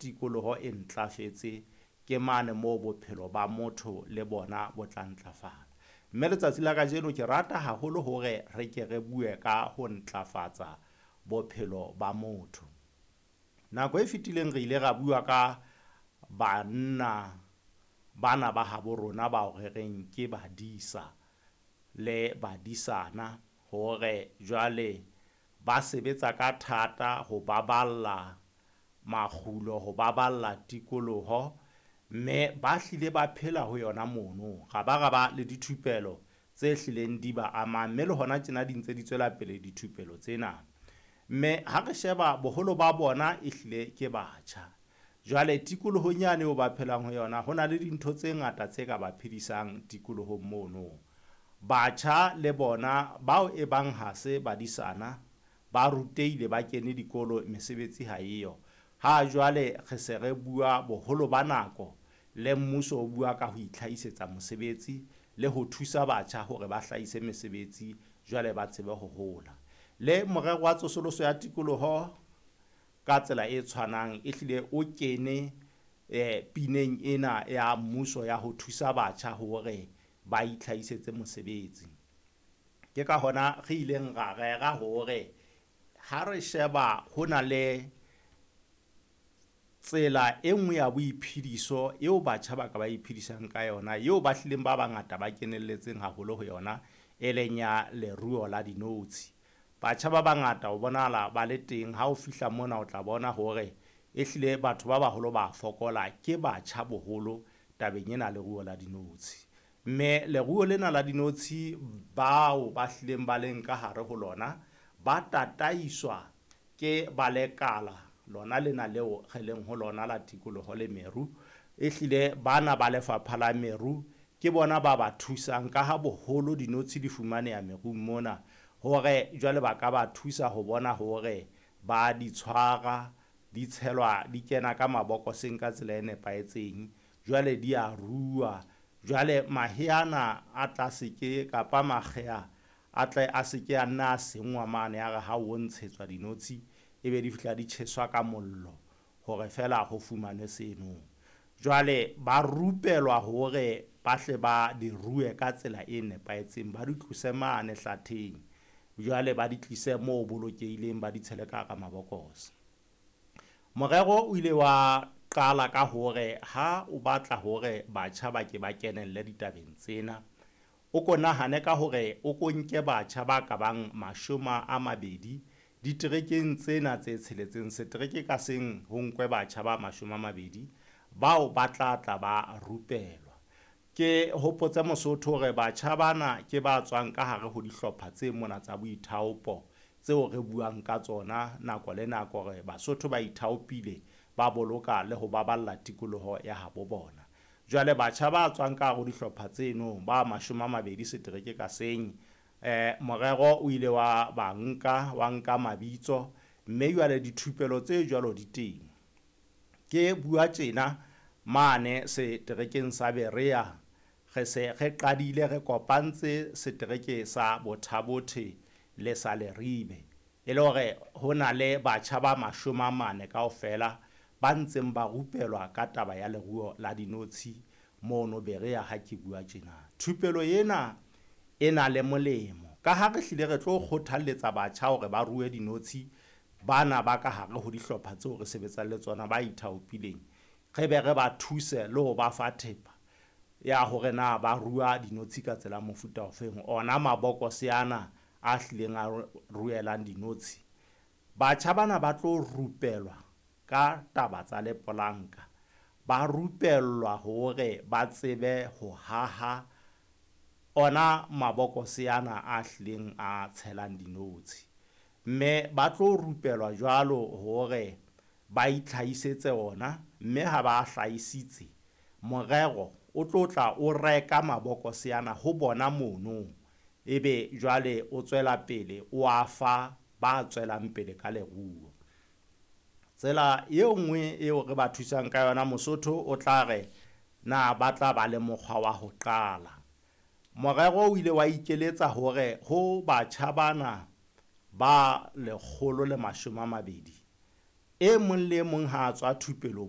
tikoloho e ntlafetse ke mane moo bophelo ba motho le bona bo tla ntlafala. Mme letsatsi la kajeno ke rata haholo hore re ke re bue ka ho ntlafatsa bophelo ba motho. Nako e fetileng re ile ra bua ka banna bana ba habo rona bao re reng ke badisa le badisana hore jwale ba sebetsa ka thata ho baballa makgulo, ho baballa tikoloho, mme ba hlile ba phela ho yona mono. Ra ba ra ba le dithupelo tse hlileng di ba amang, mme le hona tjena di ntse di tswela pele dithupelo tsena. Mme ha re sheba boholo ba bona e hlile ke batjha. Jwale tikolohong yane eo ba phelang ho yona, ho na le dintho tse ngata tse ka ba phedisang tikolohong mono. Batjha le bona bao e bang ha se badisana, ba rutehile, ba kene dikolo, mesebetsi ha eyo. Ha jwale re se re bua boholo ba nako le mmuso o bua ka ho itlhahisetsa mosebetsi le ho thusa batjha hore ba hlahise mesebetsi jwale ba tsebe ho hola. Le morero wa tsosoloso ya tikoloho ka tsela e tshwanang e hlile o kene pineng ena ya mmuso ya ho thusa batjha hore ba itlhahisetse mosebetsi. Ke ka hona re ileng ra rera hore ha re sheba ho na le tsela e nngwe ya boiphediso eo batjha ba ka ba iphedisang ka yona, eo ba hlileng ba bangata ba kenelletseng haholo ho yona, e leng ya leruo la dinotshi. Batjha ba bangata o bonahala ba le teng ha o fihla mona, o tla bona hore e hlile batho ba baholo ba fokola, ke batjha boholo tabeng ena leruo la dinotshi. Mme leruo lena la dinotshi bao ba hlileng ba leng ka hare ho lona ba tataiswa ke ba lekala lona lena leo re leng ho lona la tikoloho le meru. E hlile bana ba lefapha la meru ke bona ba ba thusang ka ha boholo dinotshi di fumaneha merung mona, hore jwale ba ka ba thusa ho bona hore ba di tshwara, di tshelwa, di kena ka mabokoseng ka tsela e nepahetseng. Jwale di a ruwa. Jwale mahe ana a tla seke kapa makgeha a tle a seke a nna a senngwa mane ya re ha o ntshetswa dinotshi ebe di fihla di tjheswa ka mollo hore feela ho fumanwe seno. Jwale ba rupelwa hore ba hle ba di rue ka tsela e nepahetseng, ba di tlose mane hlatheng, jwale ba di tlise moo bolokehileng, ba di tshele ka hara mabokose. Morero o ile wa qala ka hore ha o batla hore batjha ba ke ba kenelle ditabeng tsena, o ko nahane ka hore o ko nke batjha ba ka bang 20 diterekeng tsena tse tsheletseng, setereke ka seng ho nkwe batjha ba 20 bao ba tla tla ba rupelwa. Ke hopotse Mosotho hore batjha bana ke ba tswang ka hare ho dihlopha tse mona tsa boithaopo tseo re buang ka tsona nako le nako hore Basotho ba ithaopile ba boloka le ho baballa tikoloho ya habo bona. Jwale batjha ba tswang ka hare ho dihlopha tseno ba 20 setereke ka seng, morero o ile wa ba nka, wa nka mabitso, mme jwale dithupelo tse jwalo di teng. Ke bua tjena mane seterekeng sa Berea, re se re qadile re kopantse setereke sa Botha-Bothe le sa Leribe, e le hore ho na le batjha ba 40 kaofela ba ntseng ba rupelwa ka taba ya leruo la dinotshi mono Berea ha ke bua tjena. Thupelo ena e na le molemo ka ha re hlile re tlo kgothalletsa batjha hore ba rue dinotshi, bana ba ka hare ho dihlopha tseo re sebetsang le tsona ba ithaopileng, re be re ba thuse le ho ba fa thepa ya hore na ba rua dinotshi ka tsela mofuta ofeng, ona mabokose ana a hlileng a ruelang dinotshi. Batjha bana ba tlo rupelwa ka taba tsa lepolanka, ba rupellwa hore ba tsebe ho haha ona mabokose ana a hlileng a tshelang dinotshi. Mme ba tlo rupelwa jwalo hore ba itlhahisetse ona, mme ha ba hlahisitse, morero o tlo tla o reka mabokose ana ho bona mono, ebe jwale o tswela pele o a fa ba tswelang pele ka leruo. Tsela e nngwe eo re ba thusang ka yona, Mosotho o tla re na ba tla ba le mokgwa wa ho qala. Morero o ile wa ikeletsa hore ho batjha bana ba 120, e mong le e mong ha a tswa thupelong